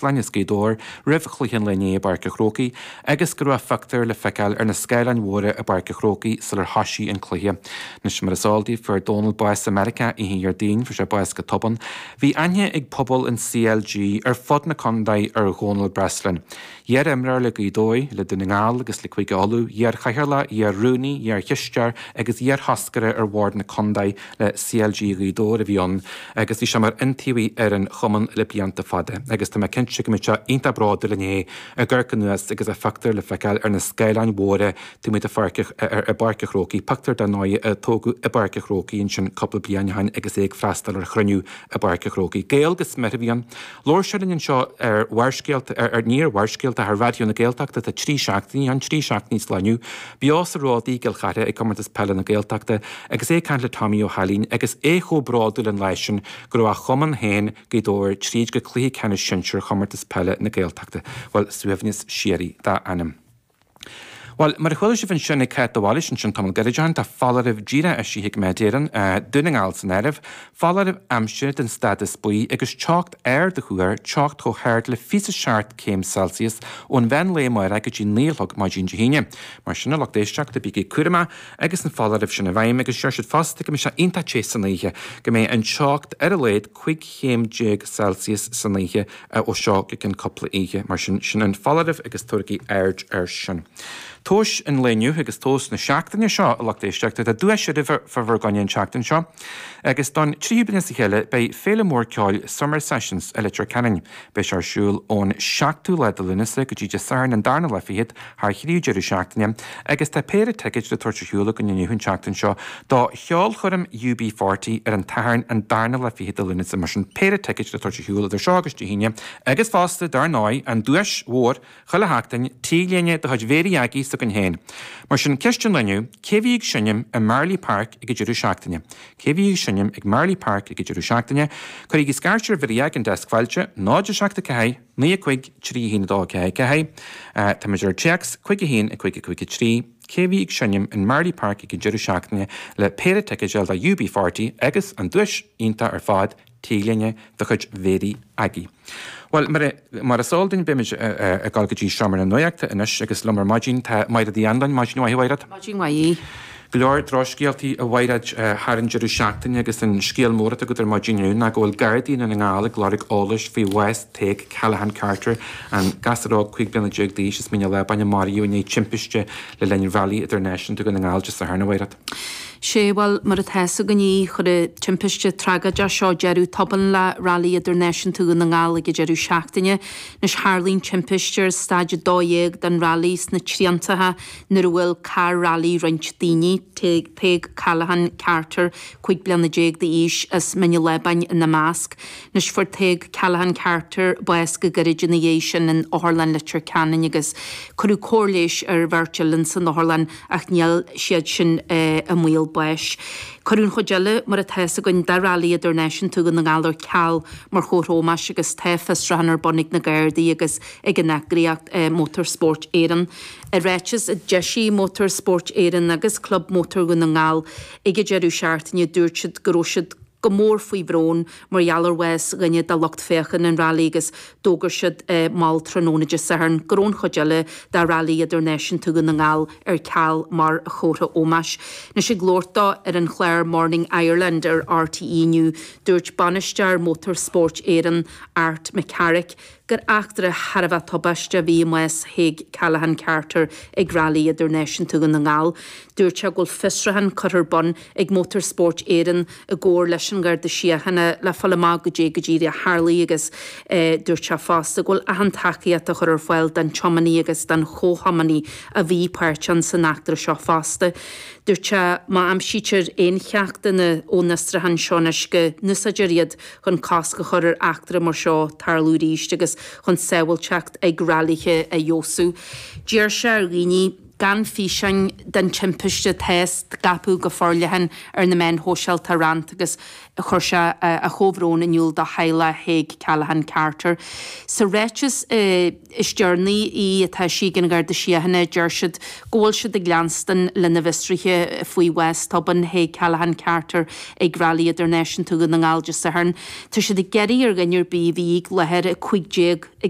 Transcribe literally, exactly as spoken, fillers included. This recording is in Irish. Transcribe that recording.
Caisleáin as Gaoth Dobhair roimh chluiche an lae inné i bPáirc an Chrócaigh agus go raibh a phictiúr le feiceáil ar na scáileáin mhóra i bPáirc an Chrócaigh sular thoisigh an cluiche. Anois mar is eol daoibh fuair Dónal bás i Meiriceá oíche Dhéardaoin, fuair sé bás go tobann. Bhí aithne ag pobal an CLG ar fud na contae ar Dhónal Breslin. Iar-imreoir le Gaoth Dobhair, le Dún na nGall agus le Cúige Uladh, iar-chathaoirleach, iar-rúnaí, iar-chisteoir agus iar-thoscaire ar bhord na contae le CLG Ghaoth Dobhair a bhí ann agus bhí sé mar iontaobhaí ar an chumann le blianta fada agus tá mé cinnte go mbeidh sé iontach bródúil inné ag amharc anuas agus a phictiúr le feiceáil ar na scáileáin mhóra taobh amuigh de pháirc i bPáirc an Chrócaigh, pictiúr dar ndóigh a tógadh i bPáirc an Chrócaigh ansin cúpla bliain ó shin agus é ag freastal ar chruinniú i bPáirc an Chrócaigh. Gael go smior a bhí ann. Labhair sé linn anseo ar Bharrscéalta, ar, ní ar Bharrscéalta, ar Raidió na Gaeltachta tá trí seachtainí ann, trí seachtainí sa lá inniu, beo sa Ród i gCill Chartha ag Comórtas Peile na Gaeltachta agus é ag caint le Tommy Ó hAilín agus é chomh bródúil an lá sin go raibh a chumann féin, Gaoth Dobhair, tríd go cluiche ceannais sinsir Chomórtas Peile na Gaeltachta. Bhuel, suaimhneas síoraí dá anam. Bhuel, mar a chuala sibh ansin ag Cáit de Bhailís ansin tamall gairid ó shin, tá foláireamh díreach eisithe ag Met Éireann, Dún na nGall san áireamh, foláireamh aimsire den stádas buí agus teocht ard á thuar, teocht chomh hard le fiche is a seacht céim Celsius ón mheán lae amárach go dtí naoi a chlog maidin Dé hAoine. Mar sin, a lucht éisteachta, bígí cúramach agus an foláireamh sin i bhfeidhm agus deir siad fosta go mbeidh sé iontach te san oíche, go mbeidh an teocht ar a laghad cúig chéim déag Celsius san oíche ó seo go ceann cúpla oíche. Mar sin, sin an foláireamh agus tabhairigí aird air sin. Tomhas an lae inniu agus tomhas na seachtaine seo, a lucht éisteachta, tá duais oraibh fá bhur gcoinne an tseachtain seo agus don tríú bliain as a chéile beidh féile mór ceoil Summer Sessions i Leitir Ceanainn. Beidh sé ar siúl ón seachtú lá de Lúnasa go dtí Dé Sathairn an darna lá fichead thar thrí deireadh seachtaine agus tá péire ticéid le tabhairt ar shiúl againn inniu an tseachtain seo do cheolchoirm U B forty ar an tSatharn an darna lá fichead de Lúnasa. Mar sin péire ticéid le tabhairt ar shiúl idir seo agus Dé hAoine agus fosta, dar ndóigh, an duais mhór chuile sheachtain, T-léine de chuid Mhéirí Aggie s'againn féin. Mar sin, ceist an lae inniu, cé bhí ag seinm i Marlay Park ag an deireadh seachtaine? Cé bhí ag seinm ag Marlay Park ag an deireadh seachtaine? Cuirigí scairt ar Mhéirí Aggie an deasc fáilte, náid a seacht a ceathair, naoi a cúig, trí a haon a dó a ceathair ceathair. Táimid ar téacs, cúig a haon, a cúig a cúig a trí. Cé bhí ag seinm in Marlay Park ag an deireadh seachtaine le péire ticéid a fháil do U B forty agus an duais iontach ar fad, T-léine de chuid Mhéirí Aggie. Bhuel, mar is eol duinn, beimid ag dul go dtí Seomra na Nuachta anois agus liom ar maidin tá Maighread Uí Anluain. Maidin mhaith, a Mhaighread. Maidin mhaith. Go leor drochscéaltaí, a Mhaighread, thar an deireadh seachtaine agus an scéal mór atá agat ar maidin inniu ná go bhfuil Gardaí i nDún na nGall ag lorg eolais faoi bhás Tadhg Callaghan Carter, an gasúr óg cúig bliana déag d'aois as Mín an Lábáin a maraíodh i ndiaidh timpiste le linn Rally Idirnáisiúnta Dhún na nGall Dé Sathairn, a Mhaighread. Sé, bhuel, mar atá fhios againn, chuir an timpiste tragóideach seo deireadh tobann le Railí Idirnáisiúnta Dhún na nGall ag an deireadh seachtaine. Anois tharlaigh an timpiste ar staid a dó dhéag den railí sna triantacha nuair a bhuail carr railí roinnt daoine, Tadhg Callaghan Carter, cúig bliana déag d'aois, as Mín an Lábáin ina measc. Anois fuair Tadhg Callaghan Carter bás go gairid ina dhiaidh sin in Otharlann Leitir Ceanainn agus cuireadh cóir leighis ar bheirt eile san otharlann ach níl siad sin i mbaol báis. Cuireadh an chuid eile, mar atá fhios againn, de Rally Idirnáisiúnta Dhún na nGall ar ceal mar chomhartha ómóis agus tá fiosrúchán ar bun ag na Gardaí agus ag an eagraíocht Motorsport Éireann. I ráiteas a d'eisigh Motorsport Éireann agus Club Mótar Dhún na nGall ag an deireadh seachtaine dúirt siad go raibh siad go mór faoi bhrón mar gheall ar bhás dhuine de lucht féachana an railí agus d'fhógair siad mall tráthnóna Dé Sathairn go raibh an chuid eile de Rally Idirnáisiúnta Dhún na nGall ar ceal mar chomhartha ómóis. Anois ag labhairt dó ar an chlár Morning Ireland ar R T E inniu, dúirt bainisteoir Motorsport Éireann, Art McCarrick, gur eachtra thar a bheith tubaiste a bhí i mbás Thaidhg Callaghan Carter ag Rally Idirnáisiúnta Dhún na nGall. Dúirt sé go bhfuil fiosrúchán curtha ar bun ag Motorsport Éireann i gcomhar leis an Gharda Síochána le fáil amach goidé go díreach a tharlaigh agus dúirt sé fosta go bhfuil achan tacaíocht á chur ar fáil don tiománaí agus don chomhthiománaí a bhí páirteach san eachtra seo fosta. Dúirt sé má aimsítear aon cheachtanna ón fhiosrúchán seo anois go n-úsáidfear iad chun cosc a chur ar eachtra mar seo tarlú arís agus chun sábháilteacht ag railithe a fheabhsú. D'iarr sé ar dhaoine gan físeáin den timpiste atá á scaipeadh go forleathan ar na meáin shóisialta a roinnt agus chuir sé a chomhbhrón in iúl do theaghlach Thaidhg Callaghan Carter. Sa ráiteas is deireanaí atá eisithe ag an Gharda Síochána deir siad go bhfuil siad ag leanstan lena bhfiosruithe faoi bhás tobann Thaidhg Callaghan Carter ag Railí Idirnáisiúnta Dhún na nGall Dé Sathairn. Tá siad ag iarraidh ar dhuine ar bith a bhí i láthair a cúig déag ag